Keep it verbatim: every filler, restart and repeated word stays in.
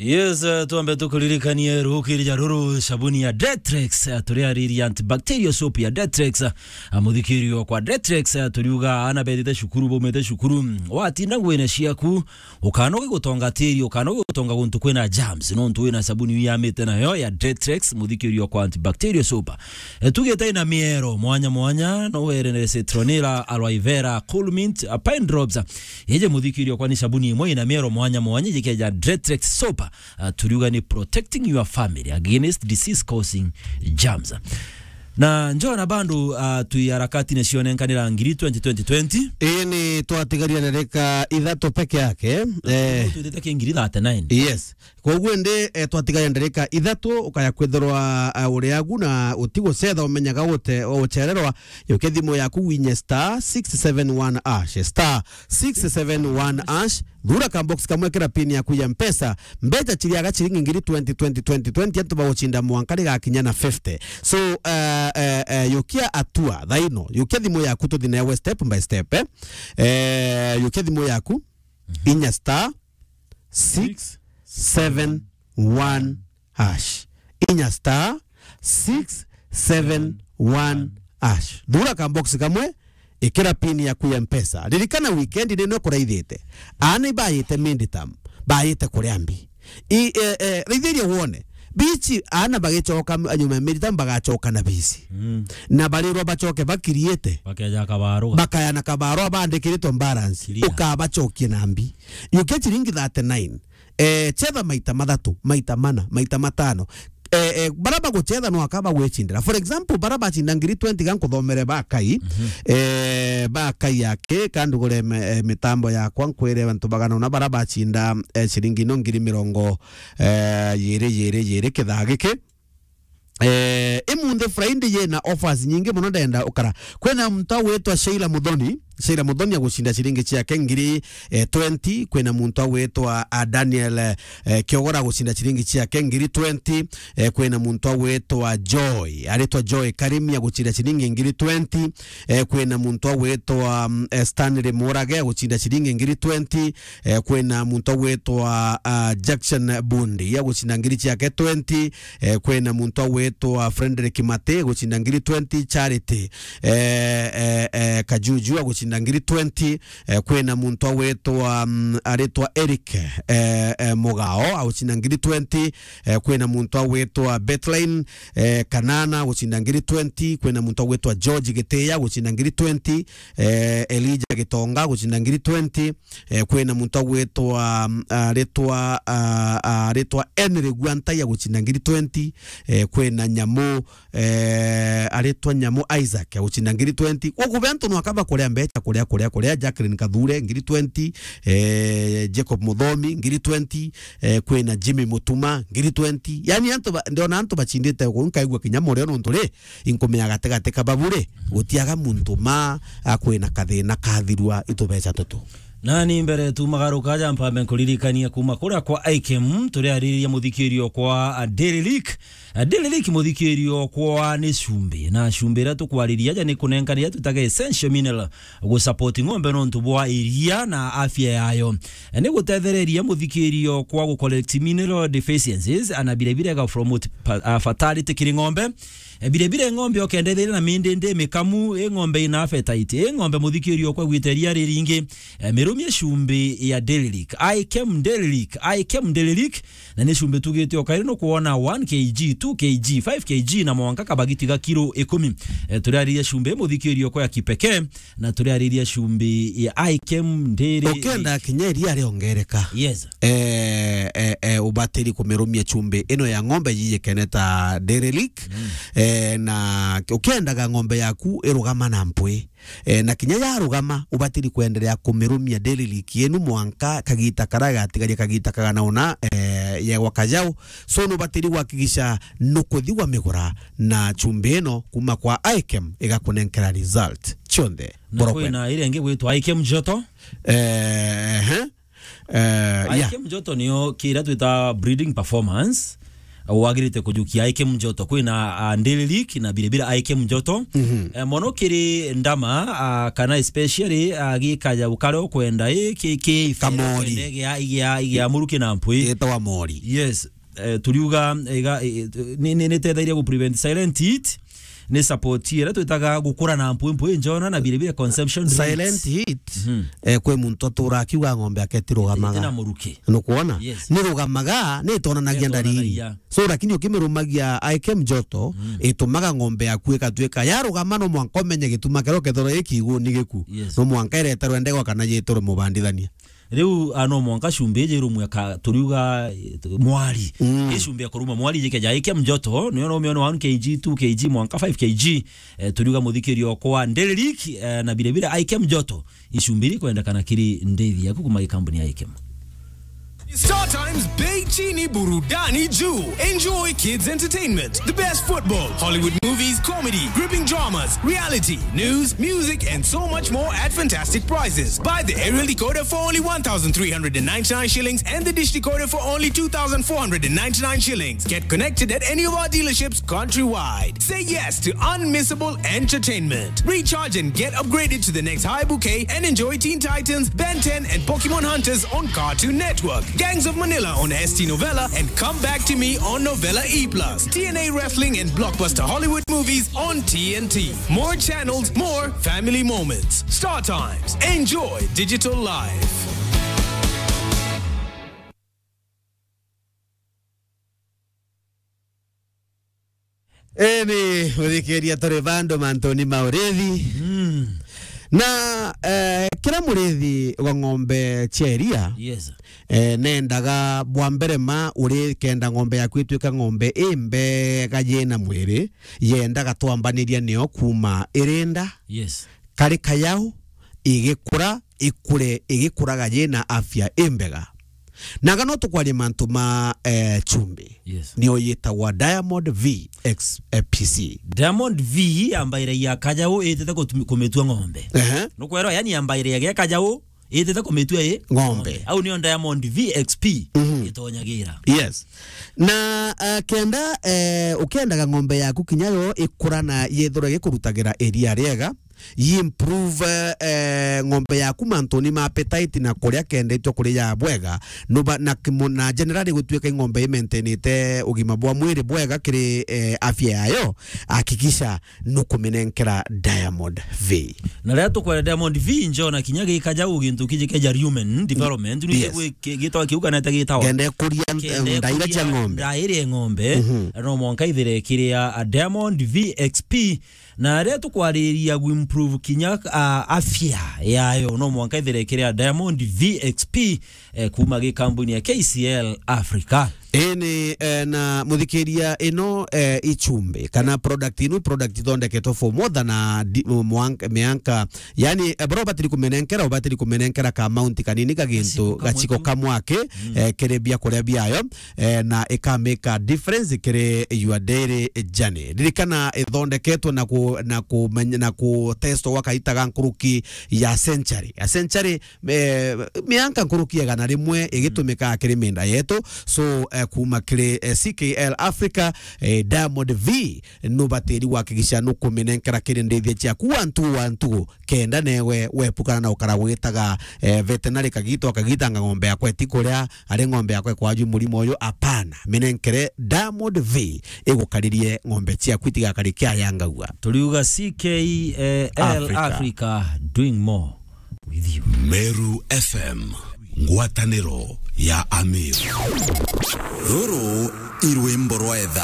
Yes, eh, twambe tukuririkanie ruukirija ruru, sabuni ya Detrex, eh, turiariria antibacterial soap ya Detrex, eh, muthikirio kwa Detrex, eh, turiuga ana bethite cukuru, baumite cukuru, watinda nguine ciaku, ukanoge gutonga tiri, ukanoge gutonga guntu kwina germs, nontu wina sabuni iu yamite nayo ya Detrex, muthikirio kwa antibacterial soap. Eh, tugite ina miero mwanya mwanya, no were citronella, aloe vera, cool mint, eh, pine drops. Ije muthikirio kwa ni sabuni imwe ina miero mwanya mwanya, ije keja Detrex soap. Ah, turiuga ni protecting your family against disease causing germs. Na njona bandu, ah, twi harakati ni cionenkanira ngiri twenty twenty twenty. Ii ni twatigaria ndarika ithatu peke yake. Eh. Twitite ki ngiri thirty-nine. Yes. Koguo ndi, eh, twatigaria ndarika ithatu, ukaya kwithirwa, ah, uri agu na utigucetha umenyaga gute-, ucererwa. Yukia thimu yaku winye star six seven one hash, star six seven one hash, thura ka box kamwe, kira pin yaku ya Mpesa. Mbeca ciriaga ciringi ngiri twenty, twenty, twenty, twenty, antu bagucinda mwanka rigakinya na fifty. So, eh, eh, eh, yukia atua thaino, yukia thimu yaku tuthi nawe step by step, eh. Eh, yukia thimu yaku, inya star six seven one hash. Inya star six seven one hash. Thura ka box kamwe, ikira pin yaku ya Mpesa. Ririkana weekend nino kuraithite. Aana ibayite midterm, bayite kuria mbi. I, eh, eh, raithiria wone. Bici aana bagicoka m-, nyuma ya midterm bagacoka na bici. Mm. Na barirwa bacoke bakiriite. Bakeja kabaruga. Bakaya na kabarua bandikiritwe balance. Clear. Ukabacokie na mbi. Yukia ciringi thirty-nine. Eh, chetha maita mathatu, maita mana, maita matano. Eh, eh, bara baguchetha no akaba gwicindira. For example, bara bacinda ngiri twenty ga nkuthomere ba Kai, mhm, eh, ba Kai yake, kandugure me-, eh, mitambo yakwa, nkwire antu bagana una bara bacinda, eh, ciringi no ngiri mirongo, eh, yiri, yiri, yiri kithaa giki. Eh, imunthi Friday yena offers nyingi muno, ndenda ukara. Kwina muntu agwitwa Sheila Muthoni, Sheila Muthoni agucinda ciringi ciake ngiri, eh, twenty. Kwina muntu agwitwa, ah, Daniel, eh, Kiogora agucinda ciringi ciake ngiri twenty. Eh, kwina muntu agwitwa Joy, aritwa Joy Karimi agucinda ciringi ngiri twenty. Eh, kwina muntu agwitwa, mm, eh, Stanley Murage agucinda ciringi ngiri twenty. Eh, kwina muntu agwitwa, ah, Jackson Bundi agucinda ngiri ciake twenty. Eh, kwina muntu agwitwa Frederick Mate agucinda ngiri twenty. Charity, eh, eh, eh, Kajuju agucinda ngiri twenty. Eh, kwina muntu agwitwa, mm, aritwa Eric, eh, eh, Mugao agucinda ngiri twenty. Eh, kwina muntu agwitwa Bethline, eh, Kanana agucinda ngiri twenty. Kwina muntu agwitwa George Gitiya agucinda ngiri twenty. Eh, Elijah Gitonga agucinda ngiri twenty. Eh, kwina muntu agwitwa, mm, aritwa, ah, ah, aritwa Henry Gwantai agucinda ngiri twenty. Eh, kwina Nyamu, eh, aritwa Nyamu Isaac agucinda ngiri twenty. Guku be antu no akaba kuria mbeca, kuria, kuria, kuria, Jacqueline Kathure ngiri twenty, eh, Jacob Muthomi ngiri twenty, eh, kwina Jimmy Mutuma ngiri twenty. Yani antu ba-, ndiona antu bacindite guku, nkaigua kinya murio nontu ri, inkumenya gatigati ka babure, gutiaga muntu ma akwina kathina kathirwa itubeca tutu. Nani mbere tu magaruka aja mpambe nkuririkania kuma kuria kwa Ikem, turiariria muthikirio kwa, a, Daily Leak. A, Daily Leak muthikirio kwa ni cumbi. Na cumbi iria tukwariria aja ni kunenkanira twitaga essential mineral gu support ng'ombe nontu bwa iria na afya yayo. E, ni gutethereria muthikirio kwa gu collect mineral deficiencies, ana birabira ga promote pa-, a, fertility kiri ng'ombe. E, birabira ng'ombe okendetheria na mindi ndi mikamu, i ng'ombe ina appetite, i ng'ombe muthikirio kwa gwita iria riringi. E, mirumie cumbi ya Daily Leak. Ikem Daily Leak, Ikem Daily Leak. Na ni cumbi tugite o kairi nukwona one K G, two K G, five K G na mwanka kabagiti ga kiro ikumi. E, turiariria cumbi muthikirio kwa ya kipekee, na turiariria cumbi ya Ikem Daily Leak. Ukenda kinya iria riongereka. Yes. Eh, eh, eh, ubatiri kumirumia cumbi ino ya ng'ombe yiyikene ta Daily Leak. Mm. Eh, na ukiendaga ng'ombe yaku irugama na mpwi. Eh, na kinya yarugama, ubatiri kwenderea kumirumia Daily Leak yenu mwanka kagita karia gatigaria kagita kagana una, eh, yegwa kajau. So, nubatiri gwakikisha nukuthi wamigura na cumbi ino kuma kwa Ikem igakunenkera result cionthe. Na kwina iria ingi gwitwa Ikem Joto. Eh, ehe. Eh, yeah. Ikem Joto niyo kiria twita breeding performance. wagirite kujukia Aikem Njoto. Kwina, ah, Ndili League na biribira Aikem Njoto. Mhm. Eh, mono kiri ndama, ah, kana especially, ah, gikaja ukare ukwenda, eh, ki, ki Kamori. Ukwenda igia, igia, igia muruki na mpwi. Itawa Mori. Yes. Eh, turiuga, iga, eh, ni, ni, ni tethairia gu prevent silent hit. Ni support ira twitaga gukura na mpwi mpwi njona na biribira consumption rate. Silent hit. Mhm. Eh, kwi muntu atura akiuga ng'ombe yake itirugamaga. Itina muruki. Nukwona? Yes. Ni rugamaga, ni itonanagia ndariri. Itonanagia. So, lakini ukimirumagia Aikem Njoto, mm, itumaga ng'ombe yaku ikatuika yarugama, no mwanka umenye gituma kiria ukethirwa i kigu ni giku. Yes. No mwanka ireterwe ndegwa kana yiturwe mubandithania. Riu, ah, no mwanka cumbi iji irumwe ka turiuga, eh, mwari. Mm. I cumbi ya kuruma mwari iji keja Aikem Njoto, niyo no mione one K G, two K G, mwanka five K G. Eh, turiuga muthikirio kwa Ndili League, eh, na biribira Aikem Njoto. I cumbi iri kwendekana kiri ndithi yaku kuma gikambuni ya Aikem. Star Times, bei chini, burudani juu. Enjoy kids entertainment, the best football, Hollywood movies, comedy, gripping dramas, reality, news, music, and so much more at fantastic prices. Buy the aerial decoder for only one thousand three hundred and ninety-nine shillings and the dish decoder for only two thousand four hundred and ninety-nine shillings. Get connected at any of our dealerships countrywide. Say yes to unmissable entertainment. Recharge and get upgraded to the next high bouquet and enjoy Teen Titans, Ben ten, and Pokemon Hunters on Cartoon Network, Gangs of Manila on S T Novella, and Come Back to Me on Novella E plus, T N A Wrestling and blockbuster Hollywood movies on T N T. More channels, more family moments. Star Times. Enjoy digital life. Eni, muthikiria, turi bandu mantuni ma urithi. Mm. Na, eh, kira murithi wa ng'ombe cia iria, yes, eh, nendaga bwa mbere ma uri kenda ng'ombe yaku ituika ng'ombe imbega yina mwiri, yendaga twambaniria nio kuma irinda. Yes. Kari kayau, igikura, ikure, igikuraga yina afya imbega. Naga no tukwaria mantu ma, eh, chumbi. Yes. Niyo yitagwa Diamond V X P C. Diamond V ambairagia kajau itete kutumi-, kumitua ng'ombe. Ehe. Nukwerwa, yani, ambairagia kajau itete kumitua i ng'ombe. Au niyo Diamond V X P, mhm, itonyagira. Yes. Na, eh, kenda, eh, ukendaga ng'ombe yaku kinya yo ikura na yethirwe gikurutagira iria riega, yi improve, eh, ng'ombe yaku mantuni ma appetite na kuria kendetwe kuria bwega, nuba na kimo-, na generally gutuika i ng'ombe imaintainite ugima bwa mwiri bwega kiri, eh, afya yayo, hakikisha nukuminenkera Diamond V. Na riria tukwera Diamond V, njona kinya gikaja u gintu kiji keja rumen development, ni, yes, gitwa kiuga nete gitawa. Kenda ikuria, kenda, em, ndaira cia ng'ombe. Ndaira ya ng'ombe, mhm, no mwanka ithire kiria, a, Diamond V X P, na riria tukwariria gu improve kinya, a, afya yayo, no mwanka ithire kiria Diamond V X P, eh, kuma gikambuni ya K C L Africa. Eni, eh, na muthikiria, ino, eh, ichumbi kana product ino, product ithondeketwe for more than a di-, mwank-, mianka. Yani, eh, bora ubatiri kumenenkera, ubatiri kumenenkera ka amount kanini ka gintu, gachiko kamwe tu, gachiko kamwe aki, mm, eh, kiri bia kuria biayo, eh, na ika make a difference kiri your daily journey. Ririkana, ithondeketwe na ku-, na kumenya-, na ku testwa gwa kaita ga nkuruki ya century. A century, eh, mianka nkuruki ya igana rimwe igitumikaga kiri minda yetu. So, eh, kuma kiri, eh, C K L Africa, eh, Diamond V, nubatiri gwakikisha nukuminenkera kiri ndithia ciaku one two one two, kenda newe wepukana na ukara gwitaga, eh, veterinary kagito akagitanga ng'ombe yakwa itikuria, ari ng'ombe yakwa ikwaju murimo uyu. Apana, minenkere Diamond V igukaririe ng'ombe ciaku itigakari kiayangagua. Turiuga C K L Africa. Africa, doing more with you. Meru F M, ngwataniro ya Ameru. Ruru i rwimbo rwa etha.